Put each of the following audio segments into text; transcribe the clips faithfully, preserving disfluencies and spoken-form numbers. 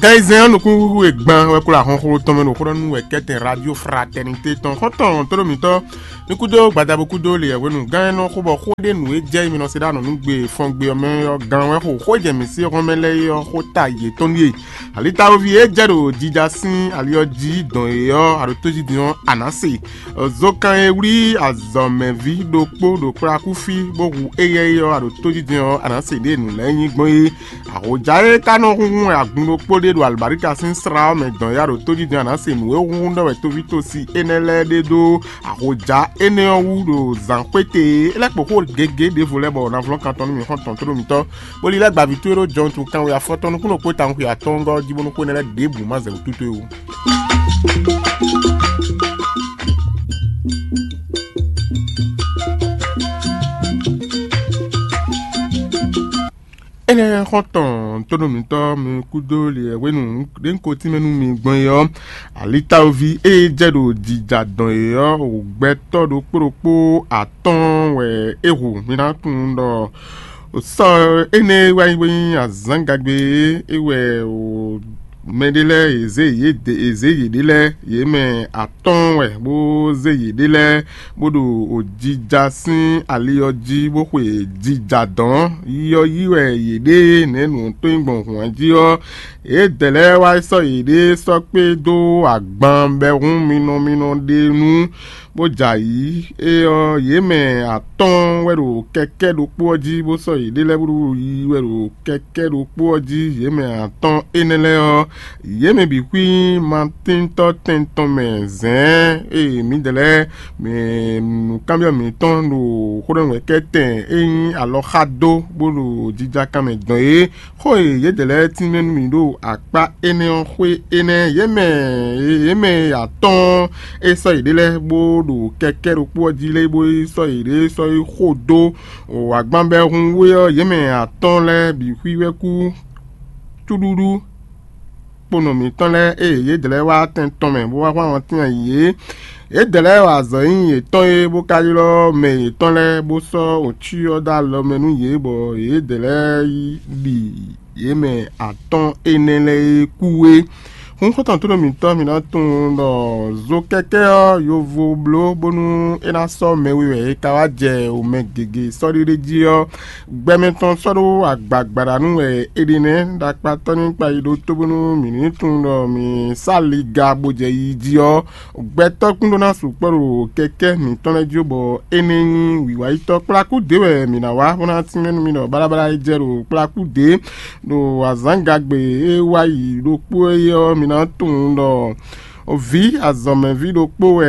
Tɛnzɛn ɔ́ nukúnxúxú e gban wɛ kplá ahɔnxló tɔn mɛ ɖo xó ɖɔ nú wɛ kɛ́tɛn Radio Fraternité tɔn xɔ́ntɔn tlóló mǐtɔn. Mi kúdó gbadabo kúdó leyɛhwenu gán e nɔ xó bɔ xó ɖé nǔ e jɛ mi nɔ se ɖó anɔ̌ nú gbe fɔngbe ɔ́ mɛ ɔ́ gán wɛ xo xó e jɛ mǐ sí hɔn mɛ lɛ́ɛ é ɔ́ xó ta yětɔn ɖíe. Alitawoví e jɛ ɖo jija sín ali ɔ́ jí dɔn é ɔ́, aɖo tójijɛ ɔ́, a nǎ se. Zokan e wlí azɔ̌mɛví ɖokpó ɖo kplakúfí bó hu éyɛ́ é ɔ́, aɖo tójijɛ ɔ́, a nǎ se ɖěe nǔ lɛ́ɛ nyí gbɔn é. Ahoja e ka nɔ hunhun agun ɖokpó ɖé ɖo alɔbáríka sín slá ɔ́ mɛ dɔn ya ɖo tójijɛ a nǎ se nǔ e hunhun ɖɔ wɛ tóvítósi énɛ́ lɛ́ɛ ɖe dó ahoja énɛ́ ɔ́ wú ɖo zǎnxwéte e é lɛ́ kpo xó gěgé ɖěvo lɛ́ɛ bɔ navlɔ́ kan tɔn nú mǐ xɔ́ntɔn tlóló mǐtɔn, bó lílɛ́ gbaví towe ɖó Jɔn tun kanwe afɔtɔn nukúnnú kpó tawun xwe atɔ́ɔ́ngɔ́ jí bónú xó énɛ́ lɛ́ɛ ɖěbǔ má zɛ wǔ tútú é wú. Énɛ́ xɔ́ntɔn tónúmítɔ́ mi kúdó lě wɛ hwenu ɖě un ko tínmɛ nú mi gbɔn é ɔ́, alitawoví e jɛ ɖo jija dɔn é ɔ́, gbɛtɔ́ ɖokpó ɖokpó atɔ́ɔ́n wɛ é hu. Mi ná tunwun ɖɔ sɔ́ énɛ́ e wá nyí bó nyí azǎngagbe é wɛ mɛɖé lɛ́ɛ è zě yě ɖe è zě yěɖée lɛ́ɛ, yě mɛ atɔ́ɔ́n wɛ bó zé yěɖée lɛ́ɛ bó ɖo jija sín ali ɔ́ jí bó xwe jija dɔ̌n. Yi ɔ́ yí wɛ yě ɖe nɛ̌ nǔ tɔn nyí gbɔn hǔn jí ɔ́, yědɛɛ lɛ́ɛ wá sɔ́ yěɖée sɔ́ kpé dó agban bɛhún minɔ minɔ ɖé nu, bó jɛ ayǐ. É ɔ́, yě mɛ atɔ́ɔ́n wɛ ɖo kɛkɛ́ ɖokpó ɔ́ jí, bó sɔ́ yěɖée lɛ́ɛ búɖuɖu yi wɛ ɖo kɛkɛ́ ɖokpó ɔ́ jí. Yě mɛ atɔ́ɔ́n énɛ́ lɛ́ɛ ɔ́, yě mɛ bǐ xwí Matíntɔ́ tɛn tɔn mɛ zɛ̌ɛ́n e mǐdɛɛ lɛ́ɛ mɛ nǔkanbyɔ́ mǐtɔn ɖo xó ɖɔ nú wɛ kɛ́tɛn e nyí alɔxá dó bó ɖo jija kan mɛ dɔn é. Xó e yědɛɛ lɛ́ɛ tínmɛ nú mì ɖo akpá énɛ́ ɔ́ xwé énɛ́, yě mɛ yě mɛ atɔ́ɔ́n e sɔ́ yěɖée lɛ́ɛ bó ɖo kɛkɛ́ ɖokpó ɔ́ jí lɛ́ɛ bó yi sɔ́ yěɖée sɔ́ yi xo dó agbanbɛhunwé ɔ́, yě mɛ atɔ́ɔ́n lɛ́ɛ bǐ xwí wɛ kú cúɖúɖú. Kponɔ mǐtɔn lɛ́ɛ e yědɛɛ lɛ́ɛ wá tɛn tɔn mɛ bó wá hwlán tɛn yě. Yědɛɛ lɛ́ɛ wa azɔ̌ nyi yětɔn e bó ka ylɔ́ mɛ yětɔn lɛ́ɛ bó sɔ́ wǒcyɔ dó alɔ mɛ nú yě bɔ yědɛɛ lɛ́ɛ yi ɖi yě mɛ atɔ́ɔ́n énɛ́ lɛ́ɛ e kú é. Hun xɔ́ntɔn tónú mǐtɔn mi ná tunwun ɖɔ zo kɛ́kɛ́ ɔ́ yovo bló bónú é ná sɔ́ mɛ we wɛ è ka wá jɛ wǒ mɛ gěgé sɔ́ɖéɖé jí ɔ́, gbɛmɛ tɔn sɔ́ ɖó agbagbaɖa nú wɛ è ɖe nɛ́ ɖo akpatɔ́ ní kpa yi ɖó tó bónú mǐ ní tunwun ɖɔ mǐ sá liga bó jɛ yi jí ɔ́, gbɛtɔ́ kún ɖó ná sukpɔ́ ɖo kɛkɛ́ mǐtɔn lɛ́ɛ jí bɔ é ní nyí wǐwáyitɔ́ kplakú dě wɛ mǐ ná wá bó ná tínmɛ nú mi ɖɔ baɖabaɖa e jɛ ɖo kplakú dě ɖo azǎngagbe e wá yi ɖokpó é ɔ́, mi ná tunwun ɖɔ vǐ azɔ̌mɛví ɖokpó wɛ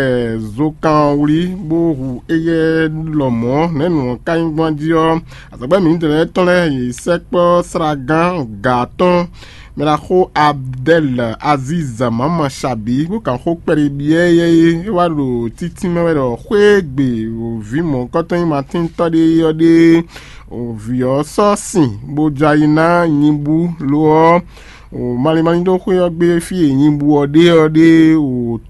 zokan ɔ́ wlí bó hu éyɛ́ lɔmɔ̌ nɛ̌ nǔ ɔ́ ka nyí gbɔn jí ɔ́, azɔ̌gbɛ́ mǐtɔn lɛ́ɛ tɔn lɛ́ɛ yě sɛkpɔ́ slagán gǎ tɔn mɛ ɖaxó Abdɛl Aziz Mama Shabi bó kan xó kpɛɖé byɔ́ éyɛ́ é wá ɖo títínmɛ wɛ ɖɔ xwé e gbe vǐ mɔ̌hunkɔtɔn nyí Matíntɔ́ ɖé ɔ́ ɖe vǐ ɔ́ sɔ́ sin bó jɛ ayi ná nyibú lo ɔ́, malín malín ɖó xwé ɔ́ gbe fí e nyibú ɔ́ ɖe ɔ́ ɖe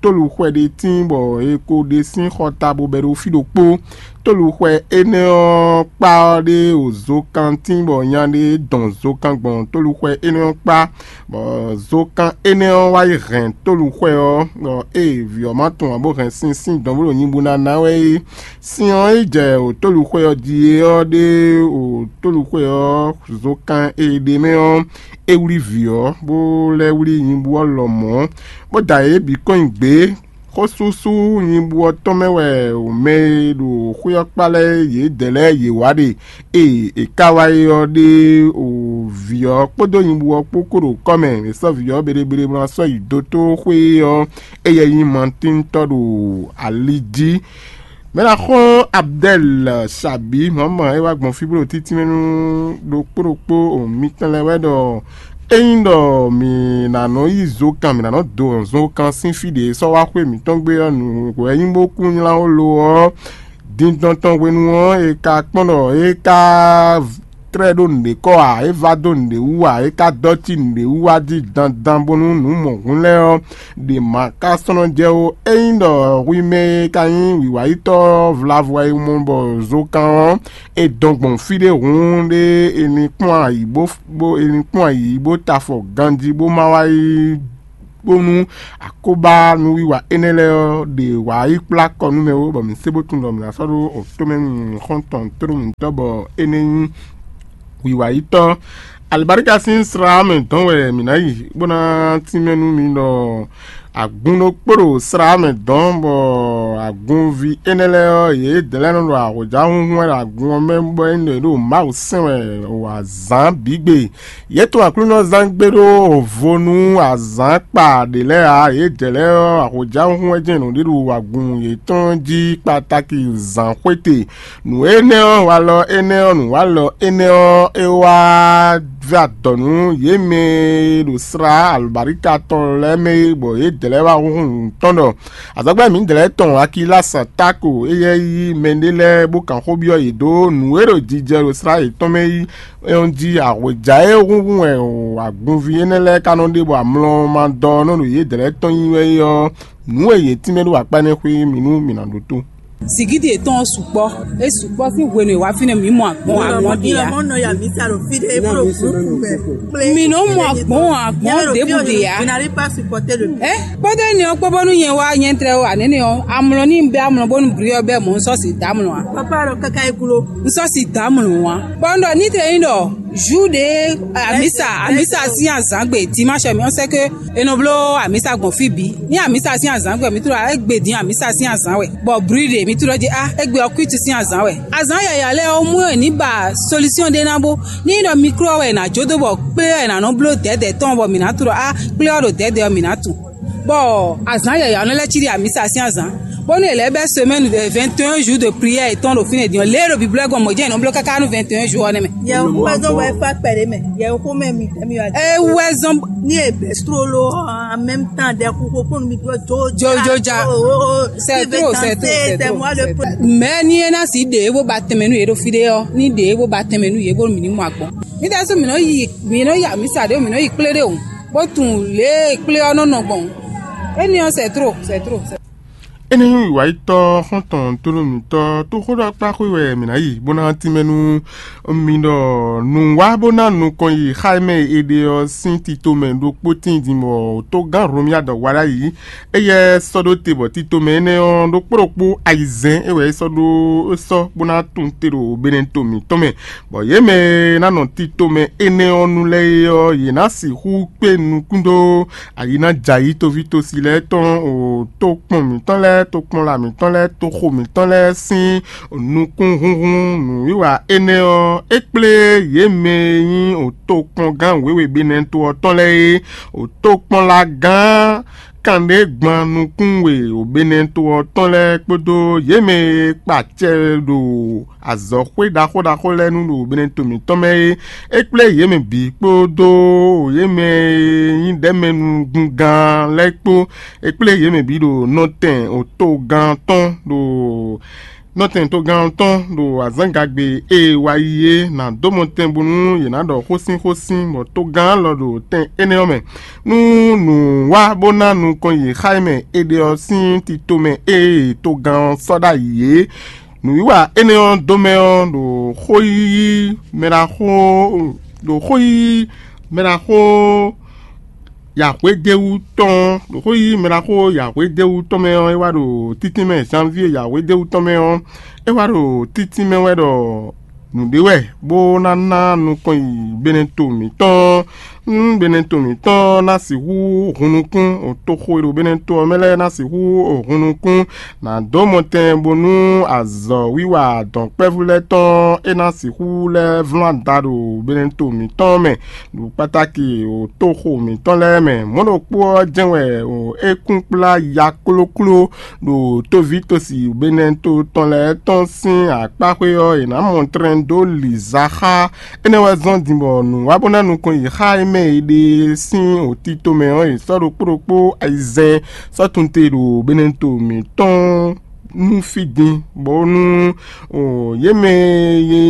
tóluxwɛ ɖé tíin bɔ è ko ɖe sín xɔta bó bɛ́ ɖó fí ɖokpó. Tóluxwɛ énɛ́ ɔ́ kpá ɔ́ ɖe zokan tíin bɔ nya ɖé dɔn zokan gbɔn tóluxwɛ énɛ́ ɔ́ kpá, bɔ zokan énɛ́ ɔ́ wá yi hɛn tóluxwɛ ɔ́, bɔ ée vǐ ɔ́ ma tunwun ǎ bó hɛn sin sín dɔn bó ɖo nyibú ná ná wɛ é. Sin ɔ́ yi jɛ wǒtóluxwɛ ɔ́ jí é ɔ́ ɖe wǒtóluxwɛ ɔ́ zokan e ɖe mɛ ɔ́, é wlí vǐ ɔ́, bó lɛ́ wlí nyibú ɔ́ lɔmɔ̌, bó da yě bǐ kɔn nyi gbě. Xósúsú nyibú ɔ́ tɔn mɛ wɛ mɛ e ɖo xwé ɔ́ kpá lɛ́ɛ yědɛɛ lɛ́ɛ yě wá ɖe. Ée è ka wá é ɔ́ ɖe o vǐ ɔ́ kpódó nyibú ɔ́ kpó kó ɖo kɔ́ mɛ, è sɔ́ vǐ ɔ́ bléblé bó ná sɔ́ yi dótó xwé ɔ́, éyɛ́ nyí Matíntɔ́ ɖo ali jí. Mɛ ná xɔ́n Abdɛl Sabi mɔ̌mɔ é wá gbɔn fí bó ɖo títínmɛ nú ɖokpó ɖokpó mitɔn lɛ́ɛ wɛ ɖɔ ényí ɖɔ mǐ ná nɔ yí zokan, mǐ ná nɔ do zokan sín fí ɖě sɔ́ wá xwé mǐtɔn gbé ɔ́, nǔ wɛ nyí bó kún nylá ó lo ɔ́, dindɔn tɔn hwenu ɔ́, è ka kpɔ́n ɖɔ é ka tlɛ́ ɖó nǔɖé kɔ ǎ, é vá dó nǔɖé wú ǎ, é ka dɔ́ cí nǔɖé wú wá jí dandan bónú nǔ mɔ̌hun lɛ́ɛ ɔ́ ɖě ma ka sɔ́ nɔ jɛ ó. Ényí ɖɔ hwi mɛ e ka nyí wǐwáyítɔ́ vlavo e mɔ bɔ zokan ɔ́, è dɔn gbɔn fí ɖé hǔn ɖé, è nǐ kpɔ́n ayǐ bó bó è nǐ kpɔ́n ayǐ bó ta afɔ ganjí bó ma wá yi bónú akóbá nǔwiwa énɛ́ lɛ́ɛ ɔ́ ɖe wǎ yi kplá kɔ nú mɛ ó, bɔ mǐ sé bó tunwun ɖɔ mǐ ná sɔ́ ɖó tomɛ nú xɔ́ntɔn tlóló mǐtɔn bɔ énɛ́ nyí wiwa yítɔ́. Alibarika sín slá mɛ dɔn wɛ mǐ ná yi bó ná tínmɛ nú mi ɖɔ agun ɖokpó ɖo slá mɛ dɔn, bɔ agunví énɛ́ lɛ́ɛ ɔ́, yědɛɛ lɛ́ɛ nɔ ɖo ahɔ̌jahúnhún wɛ ɖo agun ɔ́ mɛ, bɔ é nɔ ɖo Mawu sɛn wɛ o azǎn bǐ gbe. Yě tun Aklúnɔzán gbe ɖó vo nú azǎn kpa ɖě lɛ́ɛ ǎ; yědɛɛ lɛ́ɛ ɔ́, ahɔ̌jahúnhún wɛ jɛ́n nǔɖé ɖo agun yětɔn jí kpatáki zǎnxwéte. Nǔ énɛ́ ɔ́, walɔ énɛ́ ɔ́, nǔwalɔ énɛ́ ɔ́, é wá vɛ́ adɔ̌ nú yě mɛ e ɖo slá alɔ̌baríka tɔn lɛ́ɛ mɛ é, bɔ yědɛɛ lɛ́ɛ wá húnhún nǔ tɔn ɖɔ azɔ̌gbɛ́ mǐdɛɛ lɛ́ɛ tɔn Akilasa Táko, éyɛ́ yí mɛɖé lɛ́ɛ bó kan xó byɔ́ yě dó nǔ e ɖo jijɛ ɖo slá yětɔn mɛ é ɔ́ jí. Ahwějá e húnhún wɛ agunví énɛ́ lɛ́ɛ ka nɔ ɖe bɔ amlɔ ma dɔ ɔ́ nɔ ɖo yědɛɛ lɛ́ɛ tɔn nyi wɛ é ɔ́, nǔ e yě tínmɛ ɖó akpá énɛ́ xwé mì nú mǐ ná ɖótó. Zǐngídi yětɔn ɔ́ sukpɔ́. É sukpɔ́ sín hwenu e wǎ fínɛ́ mǐ mɔ agbɔn agbɔn ɖe ǎ. Mǐ nɔ mɔ agbɔn agbɔn ɖěbǔ ɖe ǎ. Ɛ kpódó énɛ́ ɔ́ kpó bónú nyɛ wá nyɛ́trɛ́ ó anɛ́nɛ́ ɔ́, amlɔ ní bɛ́ amlɔ bónú bri ɔ́ bɛ́ mɔ̌ un sɔ́ si dǎ amlɔ ǎ. Papa ɖɔ káká é gló. Un sɔ́ si dǎ amlɔ ǎ. Bɔ un ɖɔ ní tlɛ nyí ɖɔ Júde amisa amisa sín azǎngbe dimanche mi ɔ́ sɛ́ ke è nɔ bló amisa gbɔn fí bǐ. Ní amisa sín azǎngbe mi tló égbé dín amisa sín azǎn wɛ, bɔ bri ɖe mi tló jí á égbé ɔ́ kwítu sín azǎn wɛ. Azǎn yǎyá lɛ́ɛ ɔ́ mú è ní ba solution ɖé ná bó ní ɖɔ mikro ɔ́ wɛ è nǎ jó dó bɔ kplé ɔ́ è nǎ nɔ bló dɛ̌dɛ̌ tɔn bɔ mǐ ná tló á kplé ɔ́ ɖo dɛ̌dɛ̌ ɔ́ mǐ ná tunwun. Bɔ azǎn yǎyá ɔ́ nɔ lɛ́ cí ɖi amisa sín azǎn, bónú è lɛ́ bɛ́ semaine vingt et un jours de prière yětɔn ɖo fínɛ́ din ɔ́, lě e ɖo Biblu ɔ́ gɔ́n mɔ̌ jɛ́n è nɔ bló káká nú vingt et un jours ɔ́ nɛ́ mɛ. Yɛ wɛzɔn wɛ fa kpɛɖé mɛ, yɛ xomɛ mi tɛmi wa. É wɛzɔn. Ní è bɛ́ slolo en même temps ɖɛ xixo kpɔn mi dó jo jo ja. C'est trop, c'est trop, c'est trop. Mɛ ní é ná sí ɖě bó ba tɛnmɛ nú yě ɖo fí ɖé ɔ́, ní ɖě bó ba tɛnmɛ nú yě bónú mǐ ní mɔ agbɔn. Mǐ ɖésú mǐ nɔ yi mǐ nɔ yi amisa ɖě o, mǐ nɔ yi kplé ɖé o, bó tunwun lě e kplé ɔ́ nɔ nɔ gbɔn. Énɛ́ ɔ́ c'est trop, c'est trop. Énɛ́ nyí wǐwáyítɔ́ xɔ́ntɔn tlóló mǐtɔn tó xó ɖɔ kpá xwé wɛ mǐ ná yi bó ná tínmɛ nú mi ɖɔ nǔwá bó ná nukɔn yi xá e mɛ è ɖe ɔ́ sín tito mɛ ɖokpó tíin din bɔ tó gán Hlomia dɔ wa ɖ'ayǐ. Éyɛ́ sɔ́ ɖó te bɔ tito mɛ énɛ́ ɔ́ ɖokpó ɖokpó ayizɛ́n é wɛ é sɔ́ ɖó é sɔ́ bó ná tunwun te ɖo benɛto mǐtɔn mɛ, bɔ yě mɛ e ná nɔ tito mɛ énɛ́ ɔ́ nu lɛ́ɛ é ɔ́, yě ná sixú kpé nukún dó ayi ná jɛ ayǐ toví tosi lɛ́ɛ tɔn o tokpɔn mǐtɔn lɛ́ɛ, tokpɔnla mǐtɔn lɛ́ɛ, toxo mǐtɔn lɛ́ɛ sín nukúnhúnhún nǔwiwa énɛ́ ɔ́, é kplé yě mɛ e nyí o tokpɔngán wěwe Benɛto ɔ́ tɔn lɛ́ɛ é, o tokpɔnlagán kanɖé gban nukún we o Benɛto ɔ́ tɔn lɛ́ɛ kpódó yě mɛ e kpa acɛ ɖo azɔ̌xwé ɖaxó ɖaxó lɛ́ɛ nu ɖo Benɛto mǐtɔn mɛ é. É kplé yě mɛ bǐ kpódó yě mɛ e nyí ɖɛ̌mɛnúgúngán lɛ́ɛ kpó. É kplé yě mɛ bǐ ɖo nɔtɛn otogán tɔn ɖo nɔtɛn togán tɔn ɖo azǎngagbe e wá yi é ná dó mɔ tɛn bónú yě ná ɖɔ xósínxósín, bɔ togán lɔ ɖo tɛn énɛ́ ɔ́ mɛ. Nú nǔ wá bó ná nukɔn yi xá e mɛ è ɖe ɔ́ sín tito mɛ e togán ɔ́ sɔ́ ɖ'ayǐ é. Nǔwiwa énɛ́ ɔ́ dó mɛ ɔ́ ɖo xó yíyí mɛ ɖaxó ɖo xó yíyí mɛ ɖaxó yǎhwédéwú tɔn ɖo xó yíyí mɛ ɖaxó yǎhwédéwú tɔn mɛ ɔ́, é wá ɖo títínmɛ janvier yǎhwédéwú tɔn mɛ ɔ́, é wá ɖo títínmɛ wɛ ɖɔ nǔɖé wɛ bó ná ná nukɔn yi Benɛto mǐtɔn. Nú Benɛto mǐtɔn ná sixú hun nukún, toxo e ɖo Benɛto ɔ́ mɛ lɛ́ɛ ná sixú hun nukún, nǎ dó mɔtɛn bónú azɔ̌wiwa dɔ̌nkpɛvú lɛ́ɛ tɔn é ná sixú lɛ́ vlán da ɖo Benɛto mǐtɔn mɛ, ɖo kpatáki ɖo toxo mǐtɔn lɛ́ɛ mɛ. Mɔ̌ ɖokpó ɔ́ jɛ́n wɛ ɖo é kún kplá ya klókló ɖo tóví tosi Benɛto tɔn lɛ́ɛ tɔn sín akpáxwé ɔ́, è nǎ mɔ tlɛn dó lǐza xá. Énɛ́ wɛ zɔ́n din bɔ nǔ wá bó ná nukɔn yi xá e mɛ è ɖe sín òtítɔn mɛ ɔ́, è sɔ́ ɖokpó ɖokpó ayizɛ́n sɔ́ tunte ɖo Benɛto mǐtɔn nú fí din, bónú o yě mɛ e nyí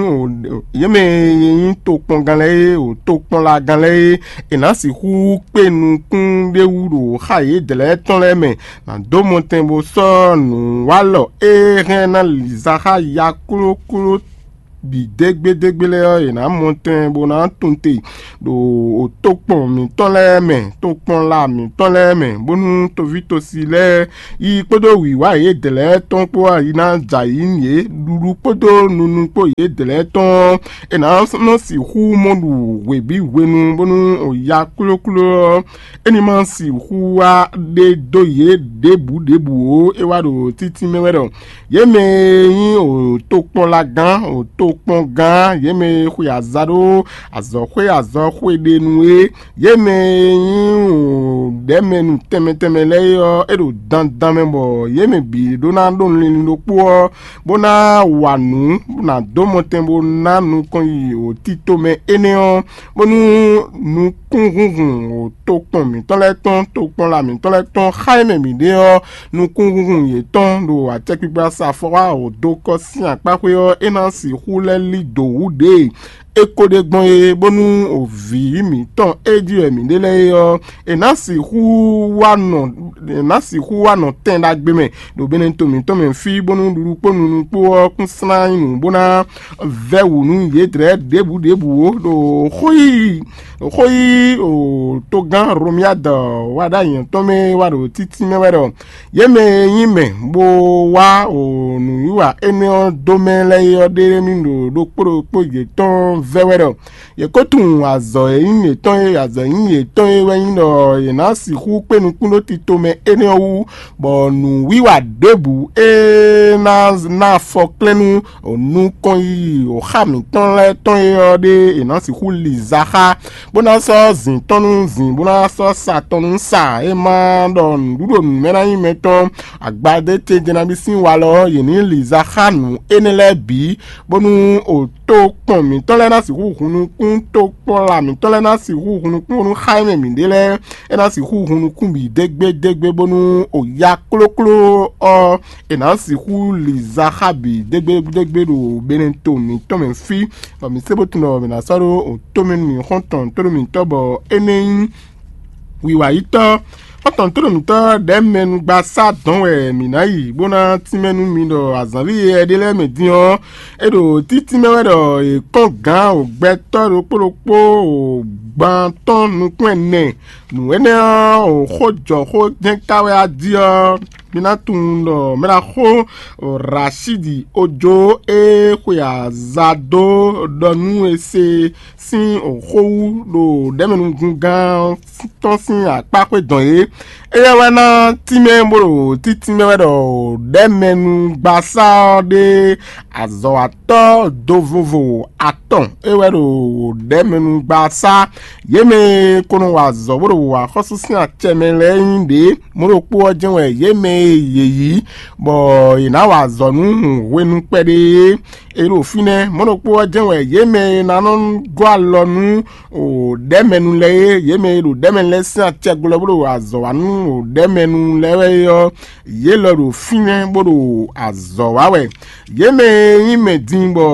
o yě mɛ e nyí tokpɔngán lɛ́ɛ é, o tokpɔnlagán lɛ́ɛ é, è nǎ sixú kpé nukún ɖé wú ɖo xá yědɛɛ lɛ́ɛ tɔn lɛ́ɛ mɛ, nǎ dó mɔtɛn bó sɔ́ nǔwalɔ e hɛn ná liza xá ya klókló bǐ dégbédégbé lɛ́ɛ ɔ́, è nǎ mɔ tɛn bó ná tunwun te ɖo tokpɔn mǐtɔn lɛ́ɛ mɛ, tokpɔnla mǐtɔn lɛ́ɛ mɛ, bónú toví tosi lɛ́ɛ yi kpódó wǐwá yědɛɛ lɛ́ɛ tɔn kpó ɔ́, yi ná jɛ ayǐ nú yě, ɖuɖu kpódó nunu kpó yědɛɛ lɛ́ɛ tɔn ɔ́, è nǎ nɔ sixú mɔ ɖu hwebǐ hwenu, bónú o ya klókló ɔ́, é ní ma sixú wá ɖe dó yě ɖěbǔ ɖěbǔ ó. É wá ɖo títí mɛ wɛ ɖɔ yě mɛ e nyí o tokpɔnlagán, o tokpɔngán, yě mɛ e xwe aza ɖó azɔ̌xwé azɔxwé ɖe nu é, yě mɛ e nyí o ɖɛ̌mɛnu tɛnmɛ tɛnmɛ lɛ́ɛ é ɔ́, é ɖo dandan mɛ bɔ yě mɛ bǐ ɖó ná ɖó linlin ɖokpó ɔ́, bó ná wa nǔ, bó ná dó mɔtɛn bó ná nukɔn yi o tito mɛ énɛ́ ɔ́, bónú nukúnhúnhun o tokpɔn mǐtɔn lɛ́ɛ tɔn, tokpɔnla mǐtɔn lɛ́ɛ tɔn xá e mɛ mǐ ɖe ɔ́, nukúnhúnhun yětɔn ɖo acɛkpikpa sa afɔwá o dó kɔ sín akpáxwé ɔ́, é ná sixú lɛ́ lí dǒ wú ɖě e é ko ɖe gbɔn é, bónú o vǐ mǐtɔn e jí wɛ mǐ ɖe lɛ́ɛ é ɔ́, è nǎ sixú wá nɔ è nǎ sixú wá nɔ tɛn ɖagbe mɛ ɖo benɛto mǐtɔn mɛ fí, bónú ɖuɖu kpó nunu kpó ɔ́ kún slán nyí nǔ bó ná vɛ́ wǔ nú yědɛɛ ɖěbǔ ɖěbǔ ó, ɖo xó yí xó yí o togán Romiyád wá ɖó anyɛ̌ tɔn mɛ wá ɖo títí mɛ wɛ ɖɔ yě mɛ e nyí mɛ bó wá o nǔwiwa énɛ́ ɔ́ dó mɛ lɛ́ɛ é ɔ́ ɖe mì ɖo ɖokpó ɖokpó yětɔn vɛ́ wɛ ɖɔ yě ko tunwun azɔ̌ e nyí yětɔn é, azɔ̌ e nyí yětɔn é wɛ nyí ɖɔ yě ná sixú kpé nukún ɖó tito mɛ énɛ́ ɔ́ wú, bɔ nǔwiwa ɖěbǔ e ná ná afɔklɛ́n nú nukɔn yiyi xá mǐtɔn lɛ́ɛ tɔn é ɔ́ ɖé è nǎ sixú li za xá, bó ná sɔ́ zǐn tɔn nú zǐn, bó ná sɔ́ sa tɔn nú sa. É ma ɖɔ nǔɖuɖu nǔmɛ ná nyí mɛtɔn agbadé ce jɛ́nabí sín walɔ ɔ́, yě ní li za xá nǔ énɛ́ lɛ́ɛ bǐ, bónú o tokpɔn mǐtɔn lɛ́ɛ ná sixú hun nukún, tokpɔnla mǐtɔn lɛ́ɛ ná sixú hun nukún bónú xá e mɛ mǐ ɖe lɛ́ɛ é ná sixú hun nukún bǐ dégbédégbé, bónú o ya klókló ɔ́, è nǎ sixú li za xá bǐ dégbédégbé ɖo benɛto mǐtɔn mɛ fí, bɔ mǐ se bó tunwun ɖɔ mǐ ná sɔ́ ɖó o tomɛ nú mǐ xɔ́ntɔn tónú mǐtɔn bɔ é nɛ́ nyí wiwayítɔ́. Xɔ́ntɔn tónú mǐtɔn ɖɛ̌mɛnugbasá dɔn wɛ mǐ ná yi, bó ná tínmɛ nú mi ɖɔ azǎnví yɛ ɖé lɛ́ɛ mɛ din ɔ́, é ɖo títí mɛ wɛ ɖɔ è kɔn gǎn o gbɛtɔ́ ɖokpó ɖokpó o gban tɔn nukún ɛnɛ. Nǔ énɛ́ ɔ́, o xó jɔ xó jɛ́n ka wɛ a jí ɔ́, mi ná tunwun ɖɔ mɛ ɖaxó Rashidi Ojo e xwe aza dó ɖɔ nú e se sín xó wú ɖo ɖɛ̌mɛnugungán tɔn sín akpá xwé dɔn é. Éyɛ́ wɛ ná tínmɛ bó ɖo títínmɛ wɛ ɖɔ ɖɛ̌mɛnugbasá ɔ́ ɖe azɔ̌watɔ́ dovovo atɔn é wɛ ɖo ɖɛ̌mɛnugbasá. Yě mɛ e ko nɔ wa azɔ̌ bó ɖo axɔ́sú sín acɛ mɛ lɛ́ɛ nyí ɖě. Mɔ̌ ɖokpó ɔ́ jɛ́n wɛ yě mɛ e yě yí, bɔ yě ná wa azɔ̌ nú hwenu kpɛɖé é. È ɖo fínɛ́. Mɔ̌ ɖokpó ɔ́ jɛ́n wɛ yě mɛ e ná nɔ gɔ́ alɔ nú ɖɛ̌mɛnu lɛ́ɛ é, yě mɛ e ɖo ɖɛ̌mɛnu lɛ́ɛ sín acɛ glɔ́ bó ɖo azɔ̌ wa nú ɖɛ̌mɛnu lɛ́ɛ wɛ é ɔ́, yě lɔ ɖo fínɛ́ bó ɖo azɔ̌ wa wɛ. Yě mɛ e nyí mɛ din bɔ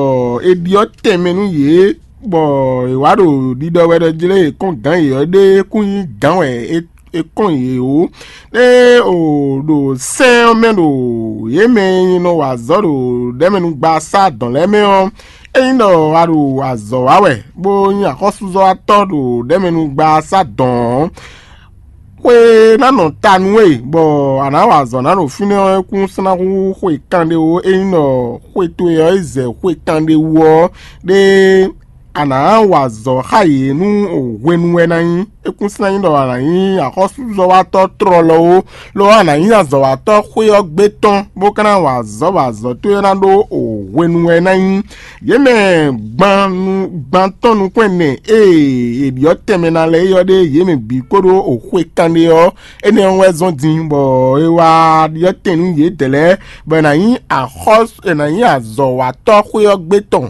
è ɖyɔ́ tɛnmɛ nú yě, bɔ è wǎ ɖo ɖiɖɔ wɛ ɖɔ jlé è kɔn gǎn yě ɔ́ ɖé kún nyí gǎn wɛ é è kɔn yě ó. Ée o ɖo sɛ́n ɔ́ mɛ ɖo yě mɛ e nɔ wa azɔ̌ ɖo ɖɛ̌mɛnugbaasá dɔn lɛ́ɛ mɛ ɔ́, ényí ɖɔ a ɖo azɔ̌ wa wɛ, bó nyí axɔ́súzɔ́watɔ́ ɖo ɖɛ̌mɛnugbaasá dɔn ɔ́, xwe ná nɔ ta nú we, bɔ a nǎ wa azɔ̌ ná ɖo fínɛ́ ɔ́, é kún sɔ́ ná hú xwe kanɖé ó. Ényí ɖɔ xwe towe ɔ́ yi zɛ xwe kanɖé wú ɔ́, ɖé a nǎ wa azɔ̌ xá yě nú hwenu wɛ ná nyí. É kún sɔ́ ná nyí ɖɔ a nǎ nyí axɔ́súzɔ́watɔ́ tlɔlɔ ó, lo ɔ́, a nǎ nyí azɔ̌watɔ́ xwé ɔ́ gbé tɔn, bó ka ná wa azɔ̌ bɔ azɔ̌ towe ná ɖó hwenu wɛ ná nyí. Yě mɛ gban nu gban tɔn nukún ɛnɛ e è ɖyɔ́ tɛnmɛ ná lɛ́ɛ é ɔ́ ɖe yě mɛ bǐ kpódó xwe kanɖé ɔ́, énɛ́ ɔ́ wɛ zɔ́n din, bɔ è wá ɖyɔ́ tɛn nú yědɛɛ lɛ́ɛ, bɔ è nǎ nyí axɔ́ è nǎ nyí azɔ̌watɔ́ xwé ɔ́ gbé tɔn.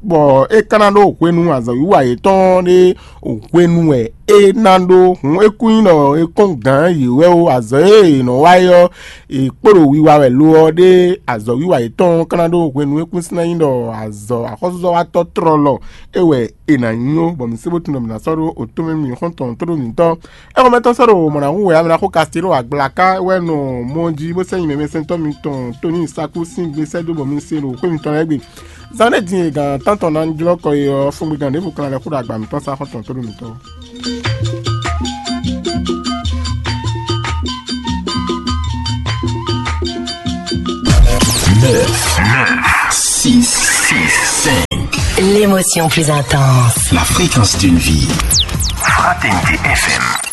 bɔ é ka ná ɖó hwenu azɔ̌wiwa yětɔn ɖé hwenu wɛ é ná ɖó. Hǔn é kú nyí ɖɔ é kɔn gǎn yě wɛ ó. Azɔ̌ e è nɔ wa é ɔ́, è kpo ɖo wiwa wɛ lo ɔ́ ɖé. Azɔ̌wiwa yětɔn ka ná ɖó hwenu é kún sín ná nyí ɖɔ azɔ̌ axɔ́súzɔ́watɔ́ tlɔlɔ é wɛ è nǎ nyí ó, bɔ mǐ sé bó tunwun ɖɔ mǐ ná sɔ́ ɖó otó mɛ mì xɔ́ntɔn tó ɖo mǐtɔn. Éxɔmɛtɔ́ sɔ́ ɖo mɔ̌ ná hu wɛ amɛ ná xo Kasteló agblaka wɛ nɔ mɔ jí bó sɛ́ nyi mɛmɛsɛntɔ́ mitɔn Tony Saku sín gbe sɛ́ dó bɔ mǐ se ɖo xwé mitɔn lɛ́ɛ gbe. Zan ɖé din e gan tántɔn ná jlɔ́ kɔ e ɔ́, fúngbegán ɖěvo kan lɛ́ xó ɖo agba mǐtɔn sá xɔ́ntɔn tó ɖo mǐtɔn. Neuf, neuf, six, six, cinq. L'émotion plus intense. La fréquence d'une vie. Fraternité F M.